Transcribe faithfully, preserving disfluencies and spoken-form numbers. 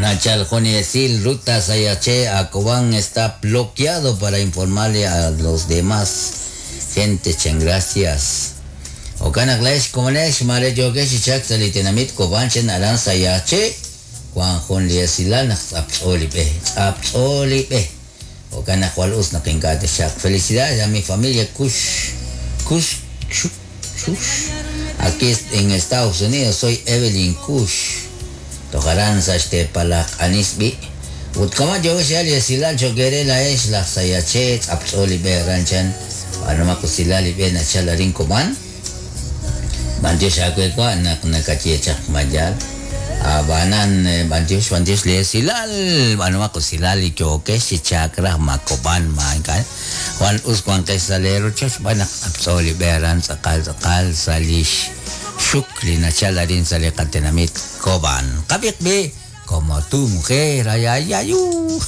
Nachal jun li esil ruta Sayaxché a Cobán está bloqueado para informarle a los demás gente chan gracias. Jo'kan naq laa'ex komonex mare yookex chi chalk sa' li tenamit Cobán chan aran Sayaxché wan jun li esilal naq tz'aptz'o li b'e tz'aptz'o li b'e. Jo'kan naq jwal us naq ink'a' texchalq. Felicidades a mi familia Kush Kush Kush aquí en Estados Unidos soy Evelyn Kush toj aran sa' xteepal laj q'anis b'i' ut kama' yookex xyeeb'al li esilal cho'q eere laa'ex laj Sayaxché tz'aptz'o li b'e aran chan b'aanumaq usilal li b'e nachal arin Cobán b'antiox aawe wa' naq nakaye chaq mayal ab'anan b'antiox b'antiox li esilal b'aanumaq usilal li yookex chi chalk raj ma Cobán ma ink'a' jwal us wanqex sa' lee rochoch xb'aan naq tz'aptz'o li b'e aran tz'aqal tz'aqal sa' lix xuk li nachal arin sa' li qatenamit Cobán. Qab'iq b'i como tu mujer ay ay ay uh.